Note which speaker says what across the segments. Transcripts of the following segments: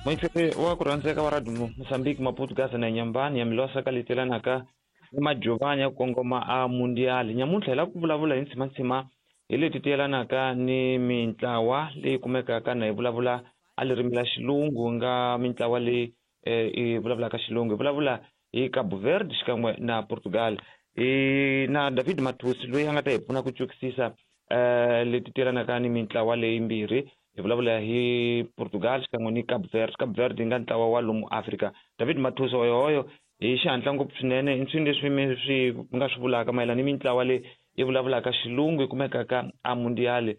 Speaker 1: Moitsepe wa ku rhandzeka wa Radio Mozambique, Maputo, Gaza na Nyambani ya Milosa ka letelanaka ni Majovani ya ku kongoma a Mundial. Nyamuntlha hi lava ku vulavula hi ntshimantsima hi leti ti yelanaka ni mintlawa leyi kumekaka na hi vulavula a ririmi la xilungu nga mintlawa leyi i vulavulaka xilungu. Hi vulavula hi Cabo Verde xikan'we na Portugal. Hi na David Mathusi loyi a nga ta hi pfuna ku twisisa leti ti yelanaka ni mintlawa leyi mbirhi. Hi vulavula hi Portugal xikan'we ni Cabo Verde. Cabo Verde yi nga ntlawa wa lomu Afrika. David Mathusi hoyohoyo hi xihatla ngopfu swinene i nswini leswi mi swi nga swi vulaka mayelana ni mintlawa leyi yi vulavulaka xilungu yi kumekaka a Mundial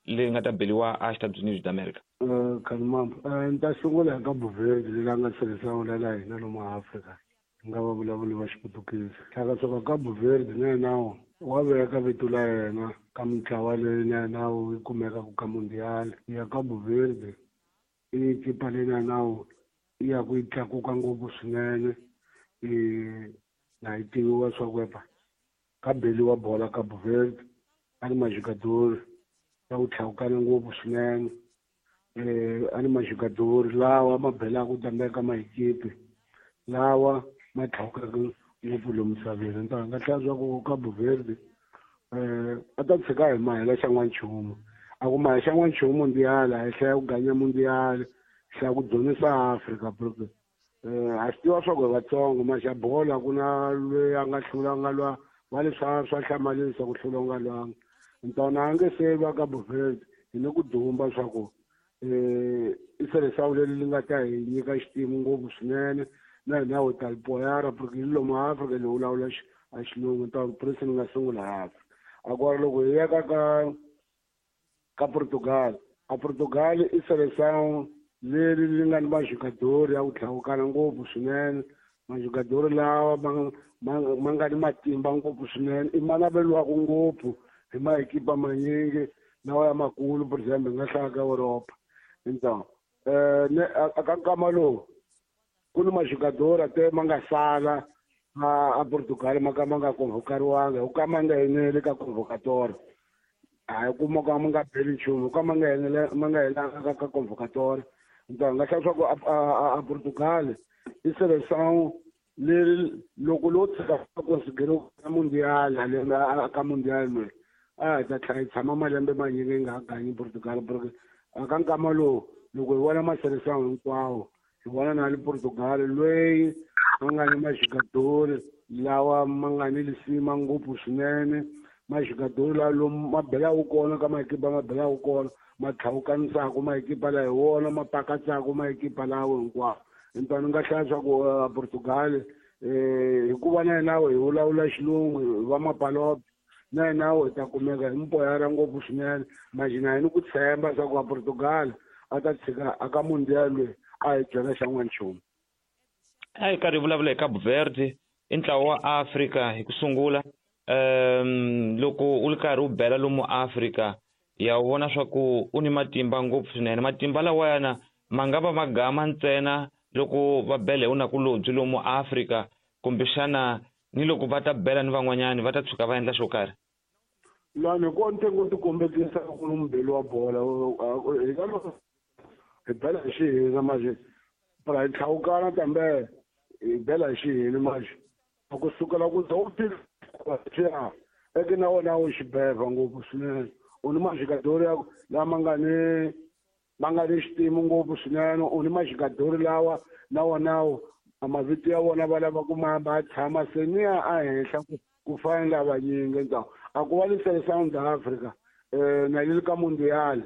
Speaker 1: leyi nga ta beliwa a Estados Unidos d'America.
Speaker 2: Khalimambo, ni ta sungula hi Cabo Verde leyi nga tirhisa la hina lomu Afrika nga va vulavuli va Xiputukezi. Hlaka swa Cabo Verde na yena wa veka vito la yena ka mintlawa leyi na yena yi kumekaka ka Mundial ya Cabo Verde. I kipa leyi na yena yi ya ku yi tlakuka ngopfu swinene, na yi tiviwa swa ku epa ka beliwa bola Cabo Verde a ni majugadori ya ku tlhawukana ngopfu swinene. A ni majugadori lawa ma belaka tambeka maekipe lawa ma tlhawukaka ngopfu lomu misaveni. Ni ta nga hlaya swa ku Cabo Verde a ta tshika hi mahela xa n'wanchumu. A ku mahe xa n'wanchumu Mundial a hi hlaya ku ganya Mundial, hlaya ku dzunisa Afrika porque a swi tiva swa ku hi Vatsongo maxa bola ku na loyi a nga hlula nga lwa va le swa swa hlamarisa ku hlula u nga lwanga. Ntona a nge se va Cabo Verde hi ni ku dumba swa ku i seleção leri li nga ta hi nyika xitimu ngopfu swinene na hina ho ta lipoyara porque hi lomu Afrika ni vulavula a xilungu ta prince ni nga sungula Afrika. A ku ri loko hi ya ka ka Portugal, a Portugal i seleção leri li nga ni majugadori ya ku tlhawukana ngopfu swinene, majugadori lawa ma nga ni matimba ngopfu swinene, i ma naveliwaka ngopfu hi maekipa manyingi lawa ya makulu, for example hi nga hlaya ka Europa. Então a ka nkama lowu ku ni majugadori te ma nga sala a Portugal ma ka ma nga convocariwanga, hi ku ka ma nga eneli ka convocatory. A hi kuma ka ma nga beli nchumu, ka ma nga enele ma nga helanga ka convocatory. Então nga hlaya swa ku a Portugal i seleção leri loko lo tshika considere Mundial lembe ka Mundial loyi a hi ta tlhela hi tshama malembe manyingi yi nga ha ganyi Portugal porque a ka nkama lowu loko hi vona maseleção hinkwawo hi vona na le Portugal loyi a nga ni majugadori lawa ma nga ni lisima ngopfu swinene, majugadori lawa lomu ma belaka kona ka maekipa ma belaka kona ma tlhawukanisaka maekipa lawa hi wona ma pakatsaka maekipa lawa hinkwawo. Empa ni nga hlaya swa ku Portugal hikuva na yena hi vulavula xilungu va mapalope na yena hi ta kumeka hi mpoyara ngopfu swinene. Majina hi ni ku tshemba swa ku Portugal a ta tshika a ka Mundial loyi a hi byela xa n'wanchumu.
Speaker 1: A hi karhi hi vulavula hi Cabo Verde i ntlawa wa Afrika hi ku sungula. Loko u ri karhi u bela lomu Afrika ya vona swa ku u ni matimba ngopfu swinene. Matimba lawayana ma nga va ma gama ntsena loko va bela hi unakulobye lomu Afrika, kumbexana ni loko va ta bela ni van'wanyani va ta tshuka va endla xo karhi.
Speaker 2: Lani ko ntsengo ti kombekisa ku ni mubeli wa bola hi ka loko hi bela hi xihina manje phela hi tlhawukana kambe hi bela hi xihina manje a ku sukela ku za u fika eke na wona wu xibeva ngopfu swinene. U ni majugadori ya lama nga ni ma nga ni xitimu ngopfu swinene, u ni majugadori lawa na wona a mavito ya vona va lava ku ma va tshama se ni ya a henhla ku fana ni lavanyingi. Então a ku va ni seleção da Africa na yi ka Mundial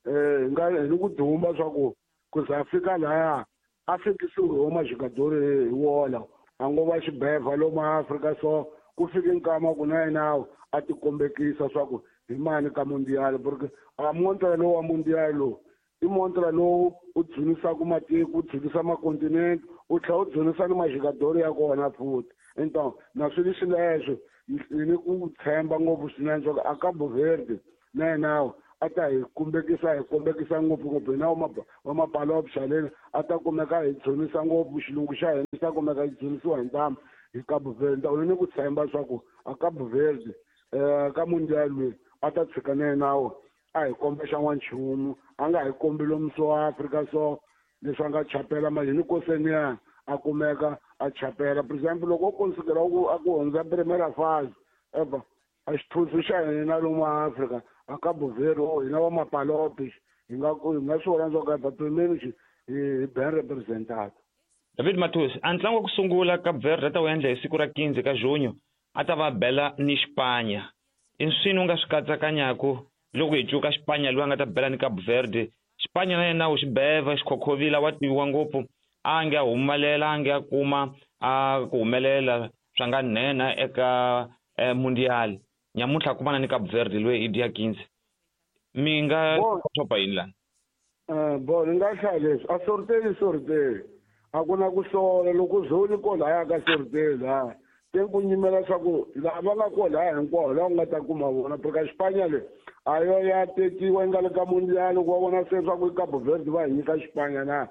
Speaker 2: hi nga hi ni ku dumba swa ku ku za fika laya a fikisiwe hi majugadori hi wola a ngo va xibeva lomu Afrika. So ku fike nkama ku na yena a ti kombekisa swa ku hi mani ka Mundial porque a montra lowu wa Mundial lowu i montra lowu u dzunisaka matiko, u dzunisa makontinente, u tlhela u dzunisa ni majugadori ya kona futhi. Então na swi leswi hi ni ku tshemba ngopfu swinene swa ku a Cabo Verde na yena a ta hi kumbekisa hi kombekisa ngopfungopfu hina wa mapalope xaleni a ta kumeka hi dzunisa ngopfu xilungu xa hina xi ta kumeka hi dzunisiwa hi ntamu hi Cabo Verde. U ni ku tshemba swa ku a Cabo Verde ka Mundial loyi a ta tshika na yena a hi komba xa n'wanchumu a nga hi kombi lomu so Afrika so leswi a nga chapela mali ni koseniya a kumeka a chapela. For example, loko o konsikela a ku hundza primera fase eva a xithusu xa hina lomu Afrika a Cabo Verde o hina va mapalopi hi nga swi vona swa ku pimeni hi ben representata.
Speaker 1: David Mathus, a ntlangu wa ku sungula Cape Verde a ta wu endla hi siku ra 15 ka junho a ta va bela ni Xipanya. I swini u nga swi katsakanyaku loko hi cuka Xipanya loyi a nga ta bela ni Cape Verde? Xipanya na yena u xibeva xikhokhovila wa tiviwa ngopfu, a nge a humelela, a nge a kuma a ku humelela swa nga nhenha eka Mundial. Nyamuntlha kumana ni Cape Verde loyi i dia 15. Mi nga xopa yini lani?
Speaker 2: Bo ni nga hlaya leswi a sorteli a ku na ku sola loko zoni ko laya ka sorteli ha te ku nyimela swa ku lava nga ko laya hinkwawo laha u nga ta kuma vona porque Xipanya le a yo ya tekiwa yi nga le ka Mundial ku va vona se swa ku i Cabo Verde va hi nyika Xipanya na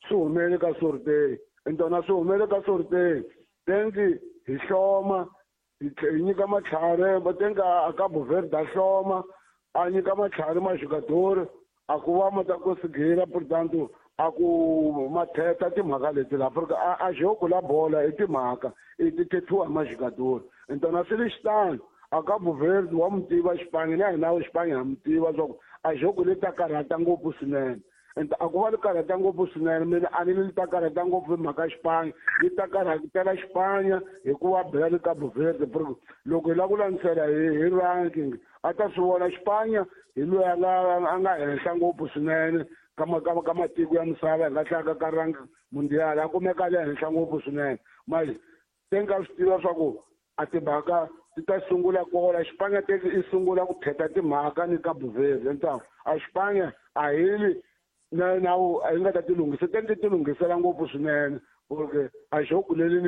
Speaker 2: swi humele ka sorteli ntona swi humele ka sorteli tenki hi hloma hi nyika matlhari va tenka a Cabo Verde a hloma a nyika matlhari maxikadori a ku va ma ta konsigela portanto a ku matheta timhaka leti la Afrika a jogo la bola i timhaka i ti thethiwa hi maxikadori ntona swi le xitano a Cabo Verde wa mu tiva Xipanya na hina Xipanya ha mu tiva swa ku a jogo le ta karhata ngopfu swinene. A ku va li karhata ngopfu swinene mina a ni li ta karhata ngopfu hi mhaka Xipanya yi ta karhatela Xipanya hikuva bela ni Cabo Verde loko hi lava ku landzelela hi ranking a ta swi vona Xipanya hi loyi a nga henhla ngopfu swinene ka matiko ya misava hi nga hlaya ka rank Mundial a kumeka le henhla ngopfu swinene mali te nga swi tiva swa ku a timhaka ti ta sungula kola Xipanya te i sungula ku theta timhaka ni Cabo Verde ntawu a Xipanya a hi na nawu a yi nga ta ti lunghisa te ti lunghisela ngopfu swinene porque a jogo leli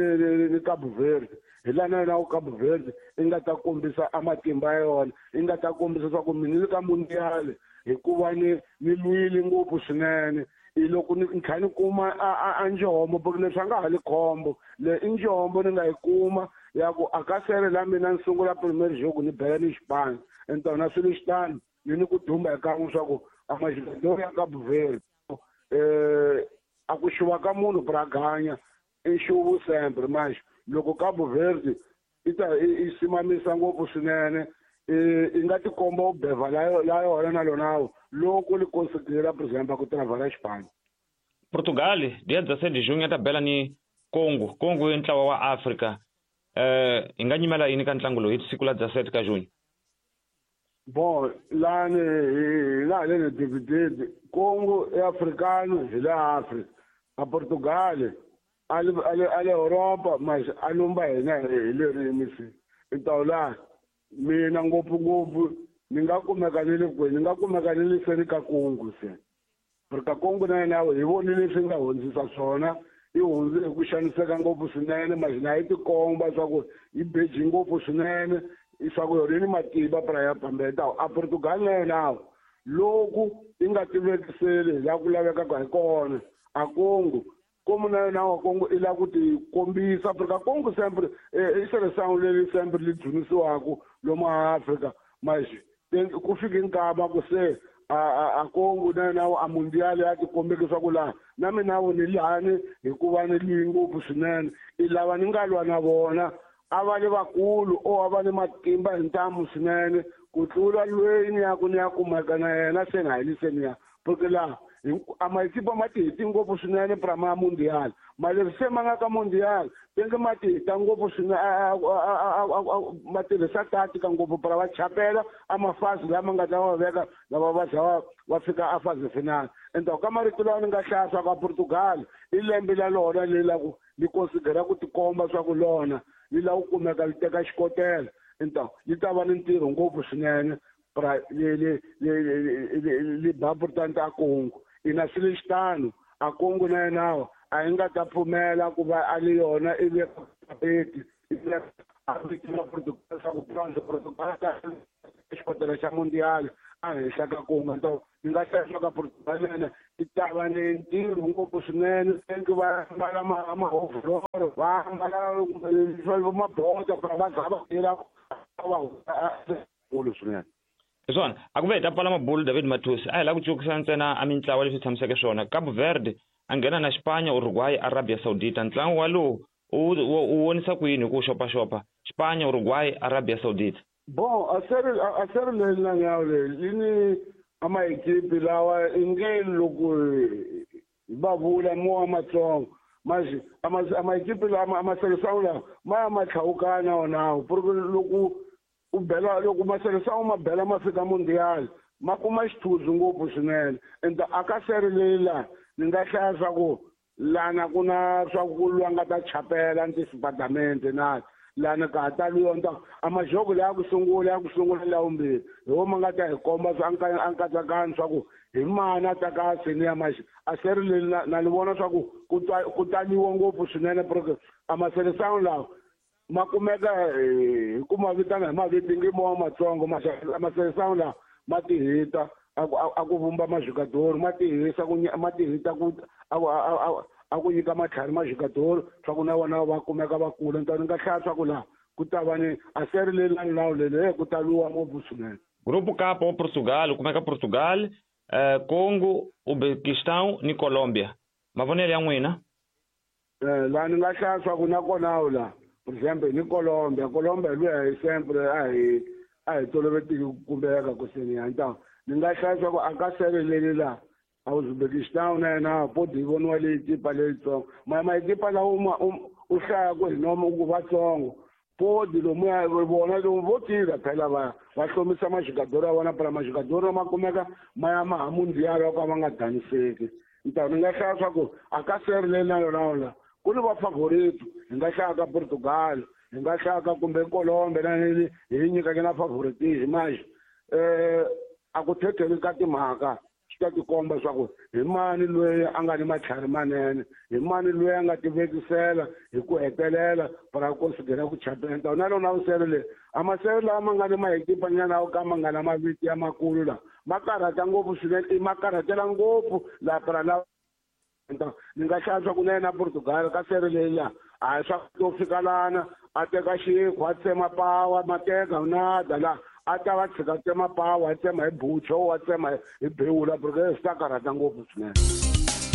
Speaker 2: ni Cabo Verde hi laha na yona Cabo Verde i nga ta kombisa a matimba ya yona i nga ta kombisa swa ku mina ni ka Mundial hikuva ni lwile ngopfu swinene i loko ni tlhela ni kuma a njombo porque leswi a nga ha li khombo le i njombo ni nga yi kuma ya ku a ka sele la mina ni sungula premier jogo ni bela ni Xipanya ntona swi le xitano ni ku dumba hi kan'we swa ku a maxikadori ya Cabo Verde a ku xuva ka munhu braganya i xuvu sempre manje loko Cabo Verde i ta i simamisa ngopfu swinene i nga tikomba u beva la yona na lona loko li konsidera por exemple ku travala Xipanya.
Speaker 1: Portugal dia 17 de junho ta bela ni Congo. Congo i ntlawa wa Afrika. Hi nga nyimela yini ka ntlangu lowu hi siku la 17 ka junho?
Speaker 2: Bon lani hi laha le divided Congo i africano hi le Afrika a Portugal a le Europa mas a lumba hina hi le rimisi ntawu laha mina ngopfungopfu ni nga kumeka ni le kwihi ni nga kumeka ni le seni ka Congo se porque Congo na yena hi vonile leswi nga hundzisa swona i hundze hi ku xaniseka ngopfu swinene mas na yi tikomba swa ku yi beji ngopfu swinene swa ku yona yi ni matimba pra ya pambeta a Portugal na yena loko i nga tivekiseli hi laha ku lavekaka hi kona a Congo komu na yena wa Congo i lava ku ti kombisa Afrika Congo sempre i seleção leri sempre li dzunisiwaka lomu Afrika mas ku fike nkama ku se a Congo na yena a Mundial ya tikombekisa ku laha na mina vo ni lani hikuva ni lwi ngopfu swinene i lava ni nga lwa na vona a va le vakulu o a va ni matimba hi ntamu swinene ku tlula lweyi ni ya ku ni ya kumeka na yena se na hi liseni ya porque laha a matimba ma ti heti ngopfu swinene pra ma Mundial ma leswi se ma nga ka Mundial tenge ma ti heta ngopfu swinene ma tirhisa tatika ngopfu pra va chapela a mafazi lama nga ta va veka lava va za va fika a fazi final endzhaku ka marito lawa ni nga hlaya swa ka Portugal i lembe la lona leri la ku li konsidera ku tikomba swa ku lona li lava ku kumeka li teka xikotela ntawu li ta va ni ntirho ngopfu swinene pra li ba portante a Congo ina swi le xitano a Congo na yena a yi nga ta pfumela ku va a li yona i veka a vitina Portugal swa ku Portugal xikotela xa Mundial a henhla ka Congo ntawu ni nga hlaya swa ka Portugal yena i ta va ni ntirho ngopfu swinene tenki va ambala mahovholoro va ambala mabota pra va za va tirha va kulu swinene.
Speaker 1: Hi swona a ku ve hi ta pfala mabulu David Mathusi a hi lava ku cukisa ntsena a mintlawa leswi tshamiseke swona. Cabo Verde a nghena na Xipanya, Uruguay, Arabia Saudita. Ntlangu walowu u vonisa ku yini hi ku xopaxopa Xipanya, Uruguay, Arabia Saudita?
Speaker 2: Bon, a seri leyi na nyawo leyi yi ni a maekipi lawa i nge loko hi va vula mo wa matsongo manje a maekipi lama a maseresangu lawa ma ya ma tlhawukana wonawo porque loko u bela loko maseresangu ma bela ma fika mundial ma kuma xithundzu ngopfu swinene. Ende a ka seri leyi laha ni nga hlaya swa ku lana ku na swa ku lwa nga ta chapela ntisibadamente na lana ka ha tali yona a majoko leya ku sungula ya vumbirhi hi wo ma nga ta hi komba swa a nkatsakanyo swa ku hi mani a ta ka seni ya maxi a seri leyi na ni vona swa ku ku taliwa ngopfu swinene porque a maseresangu lawa ma kumeka hi ku ma vitana hi mavito nge mo wa matsongo maseresangu lawa ma tihita a ku vumba majikadoro ma tihisa ku ma tihita ku a ku nyika matlhari majikadoro swa ku na vona va kumeka va kula. Ni nga hlaya swa ku laha ku ta va ni a seri leyi na nawu leyi ku taliwa ngopfu swinene.
Speaker 1: Grupo K wa Portugal kumeka Portugal, Congo, Uzbekistan ni Colombia. Mavonelo ya n'wina?
Speaker 2: Laha ni nga hlaya swa ku na kona la for example ni Colombia luya hi sempre a hi tolovetiki ku kumbeka ku seni ya ntawu ni nga hlaya swa ku a ka seri leyi la a Uzbekistan na yena podi yi voniwa leyi tipa leyitsongo maekipa lawa u hlaya ku hi nomo ku vatsongo podi lomuya vona lomu vo tirha phela va hlomisa majikadoro ya vona phela majikadoro ma kumeka ma ya ma ha mundial wa ka va nga daniseki. Ntawu ni nga hlaya swa ku a ka seri leyi na yona la ku ni va favorito hi nga hlaya ka Portugal hi nga hlaya ka kumbe Colombia na hi nyikaka na favoritism manje a ku thetheli ka timhaka swi ta tikomba swa ku hi mani loyi a nga ni matlhari manene hi mani loyi a nga tivekisela hi ku hetelela para ku konsidera ku chapela. Ntawu na lona vusele leyi a masele lawa ma nga ni maekipanyana yo ka ma nga na mavito ya makulu lawa ma karhata ngopfu swinene ma karhatela ngopfu laha para lawa. Ni nga hlaya swa ku na yena Portugal ka seri leyi laha a hi swa to fika lana a teka xikhwa a tsema pawa ma teka nada laha a ta va tshika tsema pawa a tsema hi bucho a tsema hi bewula porque swi ta karhata ngopfu swinene.